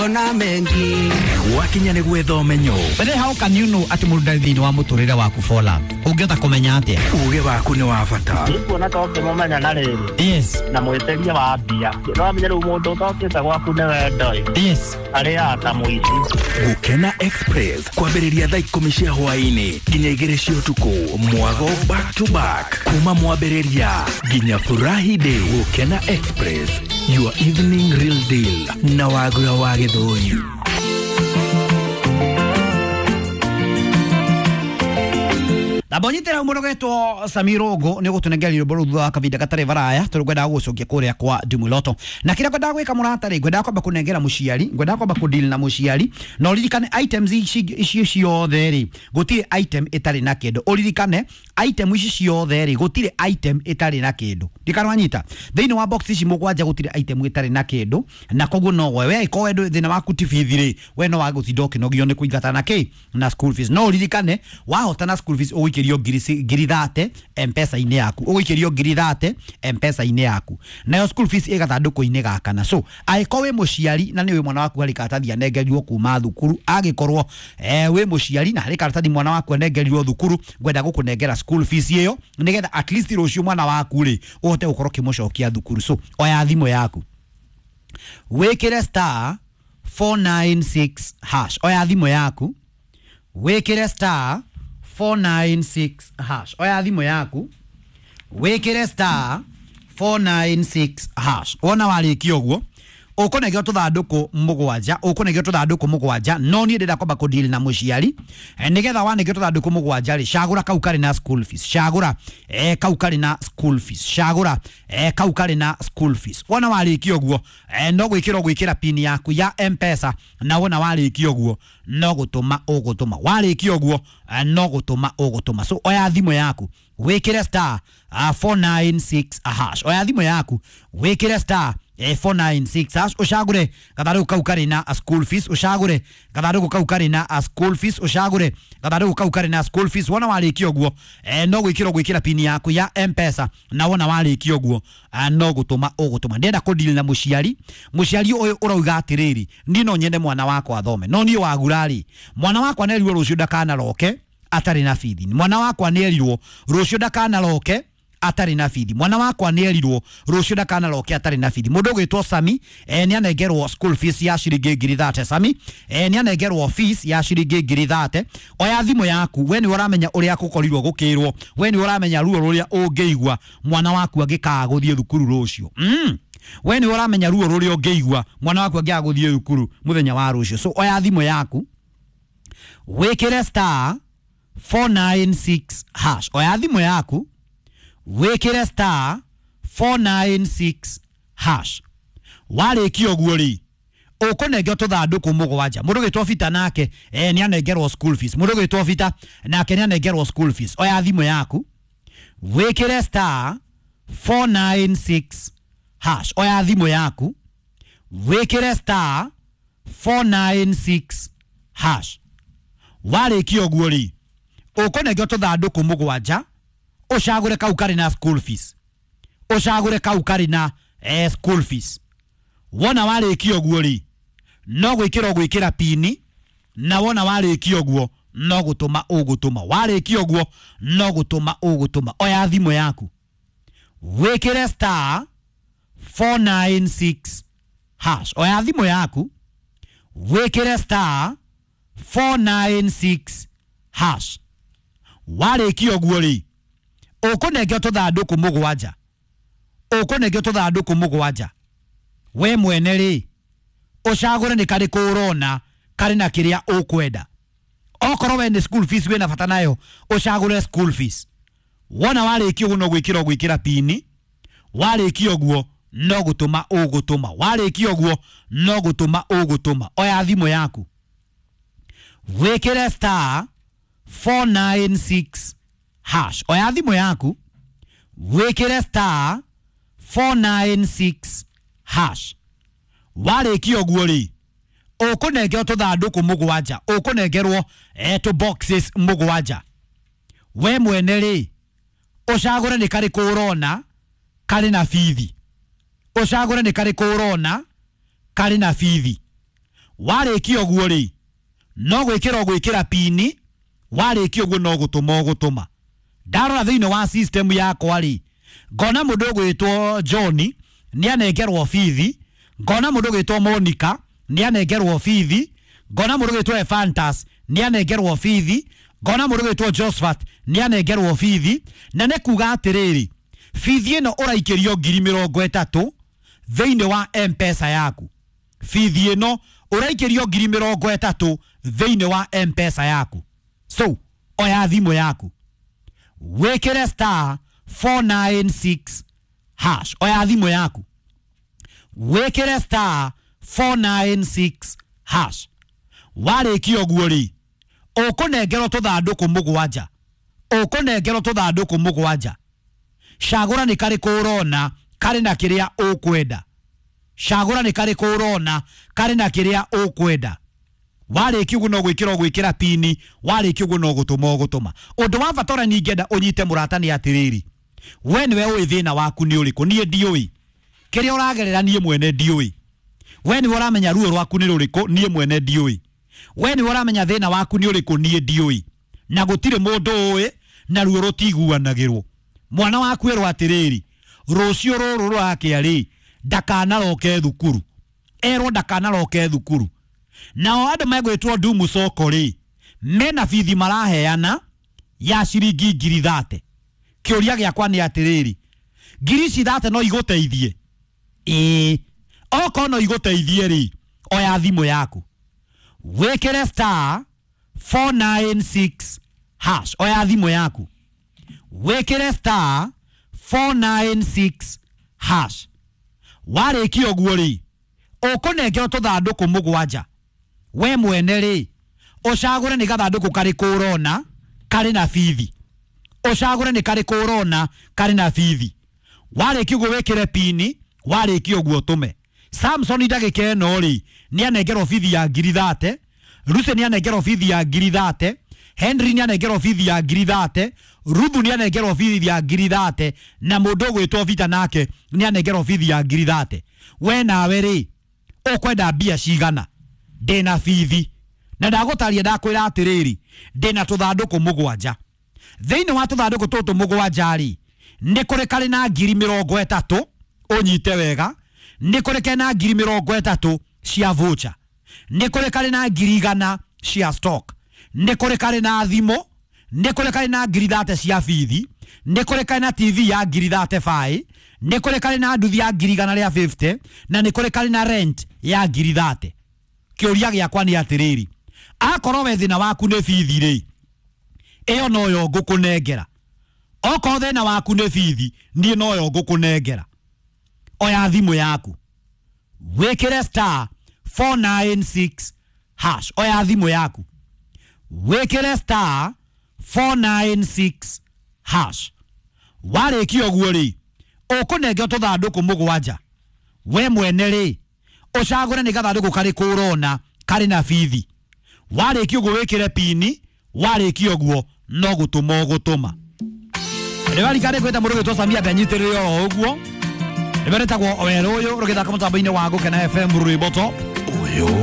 Kuona mengi. Gwakinya nĩ gwetha ũmenyo. But how can you know atĩ mũndũ ndarĩ thĩinĩ wa mũtũrĩre waku for love? Ũngĩhota kũmenya atĩa? Uge waku nĩ wa bata. Nikuona ta ũngĩmũmenya na rĩrĩ. Yes. Na mwĩtĩria wa mbia. No amenye rĩu mũndũ ũtokĩte gwaku nĩ wendo ĩ. Yes. Arĩaga ta mũici. Gũkena Express kwambĩrĩria thaa 10 cia hwaĩ-inĩ nginya 2 cia ũtukũ. Mwago back to back kuma mwambĩrĩria nginya Furahi Day. Gũkena Express, your evening real deal na Wagura wa Gĩthũri. Ndambonyitĩra mũndũ ũgetwo Samirongo nĩ ũgũtũnengera rwĩmbo rũu thutha wa kavinda gatarĩ varaya tondũ ngwendaga gũgũcokia kũrĩa kwa Ndumuloto. Na kĩrĩa ngwendaga gwĩka mũrata rĩ, ngwendaga kwamba kũnengera mũciari, ngwendaga kwamba kũdeal na mũciari, na ũririkane items ici ici ciothe rĩ, gũtirĩ item ĩtarĩ na kĩndũ. Ũririkane item ici ciothe rĩ, gũtirĩ item ĩtarĩ na kĩndũ. Ndikana wanyita. Thĩinĩ wa box ici mũgwanja gũtirĩ item ĩtarĩ na kĩndũ, na koguo no we angĩkorwo we thĩna waku ti bithi rĩ, we no wage gũtinda ũkĩnogio nĩ kũingata na kĩ na school fees. No ũririkane wahotana school fees ũgũikĩrio ngiri thate M-Pesa-inĩ yaku, ũgũikĩrio ngiri thate M-Pesa-inĩ yaku, nayo school fees ĩ gathandũkũ-inĩ ga kana. So angĩkorwo wĩ mũciari na nĩ wĩ mwana waku harĩ karatathi anengerirwo kuma thukuru, angĩkorwo wĩ mũciari na harĩ karatathi mwana waku anengerirwo thukuru, ngwenda gũkũnengera school fees ĩyo nĩgetha at least rũciũ mwana waku rĩ ũhote gũkorwo ũkĩmũcokia thukuru. So oya thimũ yaku wĩkĩre star 496 hash. Oya thimũ yaku wĩkĩre star 496 hash. Oya thimũ yaku wĩkĩre star 496 hash. Wona warĩkia ũguo ũkũnengera tũthandũkũ mũgwanja, ũkũnengera tũthandũkũ mũgwanja, no niĩ ndĩrenda kwamba kũdeal na mũciari nĩgetha wanengera tũthandũkũ mũgwanja rĩ, cagũra kau karĩ na school fees, cagũra kau karĩ na school fees, cagũra kau karĩ na school fees. Wona warĩkia ũguo no gwĩkĩra ũgwĩkĩra pin yaku ya M-Pesa, na wona warĩkia ũguo no gũtũma ũgũtũma, warĩkia ũguo no gũtũma ũgũtũma. So oya thimũ yaku wĩkĩre star 496 hash. Oya thimũ yaku wĩkĩre star 496 hash, ũcagũre gathandũkũ kau karĩ na school fees, ũcagũre gathandũkũ kau karĩ na school fees, ũcagũre gathandũkũ kau karĩ na school fees. Wona warĩkia ũguo no gwĩkĩra ũgwĩkĩra pin yaku ya M-Pesa, na wona warĩkia ũguo no gũtũma ũgũtũma. Ndĩrenda kũdeal na mũciari, mũciari ũyũ ũrauga atĩrĩrĩ, niĩ no nyende mwana wakwa athome, no niĩ wagura rĩ, mwana wakwa nĩerirwo rũciũ ndakanaroke atarĩ na bithi, mwana wakwa nĩerirwo rũciũ ndakanaroke atarĩ na bithi, mwana wakwa nĩerirwo rũciũ ndakanaroke atarĩ na bithi. Mũndũ ũgwĩtwo Sami nĩ anengerwo school fees ya ciringi ngiri thate. Sami nĩ anengerwo fees ya ciringi ngiri thate. Oya thimũ yaku, we nĩwe ũramenya ũrĩa gũkorirwo gũkĩrwo, we nĩwe ũramenya ruo rũrĩa ũngĩigua mwana waku angĩkaga gũthiĩ thukuru rũciũ. We nĩwe ũramenya ruo rũrĩa ũngĩigua mwana waku angĩaga gũthiĩ thukuru mũthenya wa rũciũ. So oya thimũ yaku wĩkĩre star 496 hash. Oya thimũ yaku wĩkĩre star 496 hash. Warĩkia ũguo rĩ, ũkũnengerwo tũthandũkũ mũgwanja. Mũndũ ũgwĩtwo Bita nake nĩ anengerwo school fees. Mũndũ ũgwĩtwo Bita nake nĩ anengerwo school fees. Oya thimũ yaku wĩkĩre star 496 hash. Oya thimũ yaku wĩkĩre star 496 hash. Warĩkia ũguo rĩ, ũkũnengerwo tũthandũkũ mũgwanja, ũcagũre kau karĩ na school fees, ũcagũre kau karĩ na school fees. Wona warĩkia ũguo rĩ, no gwĩkĩra ũgwĩkĩra pini, na wona warĩkia ũguo no gũtũma ũgũtũma, warĩkia ũguo no gũtũma ũgũtũma. Oya thimũ yaku wĩkĩre star 496 hash. Oya thimũ yaku wĩkĩre star 496 hash. Warĩkia ũguo rĩ, ũkũnengerwo tũthandũkũ mũgwanja, ũkũnengerwo tũthandũkũ mũgwanja. We mwene rĩ, ũcagũre nĩ karĩkũ ũrona karĩ na kĩrĩa ũkwenda. Okorwo we nĩ school fees wĩna bata nayo, ũcagũre school fees. Wona warĩkia ũguo no gwĩkĩra ũgwĩkĩra pini, warĩkia ũguo no gũtũma ũgũtũma, warĩkia ũguo no gũtũma ũgũtũma. Oya thimũ yaku wĩkĩre star 496 hash. Oya thimũ yaku wĩkĩre star 496 hash. Warĩkia ũguo rĩ, ũkũnengerwo tũthandũkũ mũgwanja, ũkũnengerwo tũ boxes mũgwanja. We mwene rĩ, ũcagũre nĩ karĩkũ ũrona karĩ na bithi, ũcagũre nĩ karĩkũ ũrona karĩ na bithi. Warĩkia ũguo rĩ, no gwĩkĩra ũgwĩkĩra pini, warĩkia ũguo no gũtũma ũgũtũma. Ndarora thĩinĩ wa system yakwa rĩ, ngona mũndũ ũgwĩtwo John nĩ anengerwo bithi, ngona mũndũ ũgwĩtwo Monica nĩ anengerwo bithi, ngona mũndũ ũgwĩtwo Efantas nĩ anengerwo bithi, ngona mũndũ ũgwĩtwo Josephat nĩ anengerwo bithi. Na nĩ kuga atĩrĩrĩ, bithi ĩno ũraikĩrio 30,000 thĩinĩ wa M-Pesa yaku. Bithi ĩno ũraikĩrio 30,000 thĩinĩ wa M-Pesa yaku. So oya thimũ yaku, wĩkĩre star 496 hash. Oya thimũ yaku, wĩkĩre star 496 hash. Warĩkia ũguo rĩ, ũkũnengerwo tũthandũkũ mũgwanja, ũkũnengerwo tũthandũkũ mũgwanja. Cagũra nĩ karĩkũ ũrona karĩ na kĩrĩa ũkwenda. Cagũra nĩ karĩkũ ũrona karĩ na kĩrĩa ũkwenda. Warĩkia ũguo no gwĩkĩra ũgwĩkĩra pini, warĩkia ũguo no gũtũma ũgũtũma. Ũndũ wa bata ũrĩa ningĩenda ũnyite mũrata nĩ atĩrĩrĩ, we nĩwe ũĩ thĩna waku nĩ ũrĩkũ, niĩ ndiũĩ. Kĩrĩa ũragerera niĩ mwene ndiũĩ. We nĩwe ũramenya ruo rwaku nĩ rũrĩkũ, niĩ mwene ndiũĩ. We nĩwe ũramenya thĩna waku nĩ ũrĩkũ, niĩ ndiũĩ. Na gũtirĩ mũndũ ũĩ, na ruo rũtiguanagĩrwo. Mwana waku erwo atĩrĩrĩ, rũciũ rũrũ rũrakĩa rĩ, ndakanaroke thukuru. Erwo ndakanaroke thukuru. Nao andũ megwĩtwo Ndumu Soko rĩ, mena bithi maraheana ya ciringi 30,000. Kĩũria gĩakwa nĩ atĩrĩrĩ, ngiri ici 30 no igũteithie? Ĩĩ. Okorwo no igũteithie rĩ, oya thimũ yaku, wĩkĩre star 496 hash. Oya thimũ yaku, wĩkĩre star 496 hash. Warĩkia ũguo rĩ, ũkũnengerwo tũthandũkũ mũgwanja. We mwene rĩ, ũcagũre nĩ gathandũkũ karĩkũ ũrona karĩ na bithi. Ũcagũre nĩ karĩkũ ũrona karĩ na bithi. Warĩkia ũguo wĩkĩre pini, warĩkia ũguo ũtũme. Samson ndagĩka ĩno rĩ, nĩ anengerwo bithi ya 30,000. Lucy nĩ anengerwo bithi ya 30,000. Henry nĩ anengerwo bithi ya 30,000. Ruthu nĩ anengerwo bithi ya 30,000. Na mũndũ ũgwĩtwo Vita nake nĩ anengerwo bithi ya 30,000. We nawe rĩ, ũkwenda mbia cigana? Ndĩna bithi na ndagũtaria, ndakwĩra atĩrĩrĩ, ndĩna tũthandũkũ mũgwanja. Thĩinĩ wa tũthandũkũ tũtũ mũgwanja rĩ, nĩ kũrĩ karĩ na 30,000, ũnyite wega, nĩ kũrĩ kena 30,000 cia voucher, nĩ kũrĩ karĩ na 100,000 cia stock, nĩ kũrĩ karĩ na thimũ, nĩ kũrĩ karĩ na 30,000 cia bithi, nĩ kũrĩ karĩ na TV ya 35,000, nĩ kũrĩ karĩ na nduthi ya 150,000, na nĩ kũrĩ karĩ na rent ya 30,000. Kĩũria gĩakwa nĩ atĩrĩrĩ, akorwo we thĩna waku nĩ bithi rĩ, ĩyo noyo ngũkũnengera. Okorwo thĩna waku nĩ bithi, niĩ noyo ngũkũnengera. Oya thimũ yaku, wĩkĩre star 496 hash. Oya thimũ yaku, wĩkĩre star 496 hash. Warĩkia ũguo rĩ, ũkũnengerwo tũthandũkũ mũgwanja. We mwene rĩ, ũcagũre nĩ gathandũkũ karĩkũ ũrona karĩ na bithi. Warĩkia ũguo wĩkĩre pini, warĩkia ũguo no gũtũma ũgũtũma. Rĩwarika kwĩta mũndũ ũgwĩtwo Samia ndanyitĩrĩre oro ũguo. Rĩmwe rĩtagwo werũ ũyũ rũgĩthaka mũtambo-inĩ wa Gũkena FM rwĩmbo top. Ũyũ.